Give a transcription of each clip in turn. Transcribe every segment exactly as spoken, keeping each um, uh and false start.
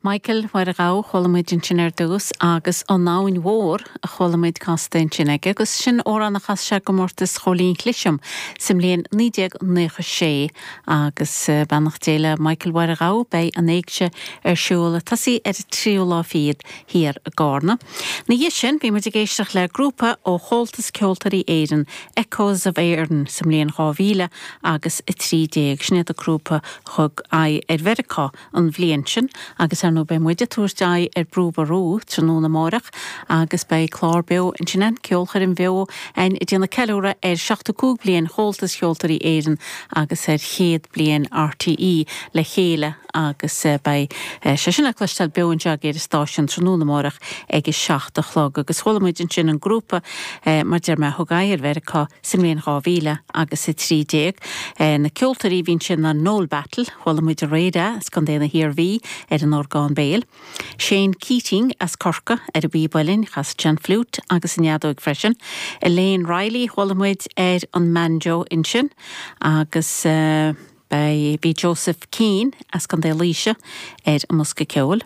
Michael Mháire Ghabha chuala muid ansin ar dtús agus an Abhainn Mhór a chuala muid casta ansin aige, agus sin amhrán a chas sé i gcomórtas Chóilín Cliseam sa mbliain naoi déag nócha sé agus eh, beannacht Dé le Michael Mháire Ghabha beidh an éigse ar siúl ag tosaí ar an tríú lá fichead thiar i gCarna. Ina dhiaidh sin bhí muid ag éisteacht le grúpa ó Chomhaltas Ceoltóirí Éireann Echoes of Éireann sa mbliain dhá mhíle agus a trí déag sin iad an grúpa thug aghaidh ar Mheiriceá an bhliain sin agus ar ndóigh beidh muid ag tabhairt aghaidh ar Brú Ború tráthnóna amárach agus beidh clár beo ansin an ceolchoirm bheo ag déanamh ceiliúradh ar seachtó cúig bliain Chomhaltas Ceoltóirí Éireann agus ar chéad bliain RTÉ le chéile agus eh, beidh eh, sé sin le cloisteáil beo anseo ar an stáisiún tráthnóna amárach ag a seacht a chlog agus chuala muid ansin an grúpa eh, mar deir mé thug aghaidh ar Mheiriceá sa mbliain dhá mhíle agus a trí déag. Na ceoltóirí a bhí ansin an Noel Battle, chuala muid aréir as Contae na hIarmhí ar an orgán béil. Shane Keating as Corcaigh ar an bpíb uilleann chas sé an fliúit agus an fheadóg freisin. Elaine Riley chuala muid ar an mbanjo ansin agus uh, bhí Joseph Keane as Contae Laoise ar an mbosca ceoil.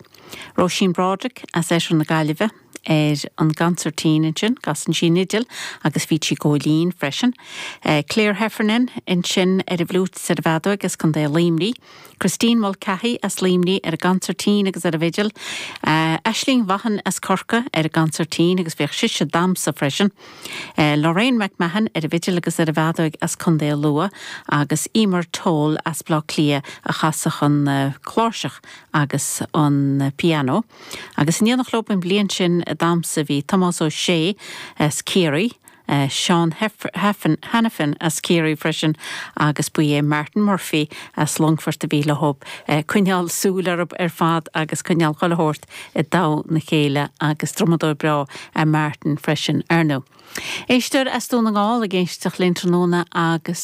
Róisín Broderick as Eisreach na Gaillimhe ar an gconsairtín ansin, casann sí an fhidil agus bhí sí góilín freisin. Uh, Claire Heffernan ansin ar an bhfliúit ar an bhfeadóg as Contae Luimnigh. Christine Mulcahy as Luimneach ar an gconsairtín agus ar an bhfidil. Uh, Aisling Vaughan as Corcaigh ar an gconsairtín agus bhíodh sise ag damhsa freisin. Uh, Lorraine McMahon ar an bhfidil agus ar an bhfeadóg as Contae Lú agus Emer Toll as Bleá Cliath a chasfadh an uh, cláirseach agus an uh, piano. Agus in éineacht leo an bhliain sin ag damhsa bhí Tomás Ó Sé as Ciarraí, Uh, Sean Hannafin as Ciarraí freisin agus ba é Martin Murphy as Longfort a bhí le hob uh, coinneáil súil orthu ar fad agus coinneáil chuile shórt i dtoll a chéile agus drumadóir breá a Martin freisin ar ndóigh. Éisteoir as Dún na nGall ag éisteacht linn tráthnóna agus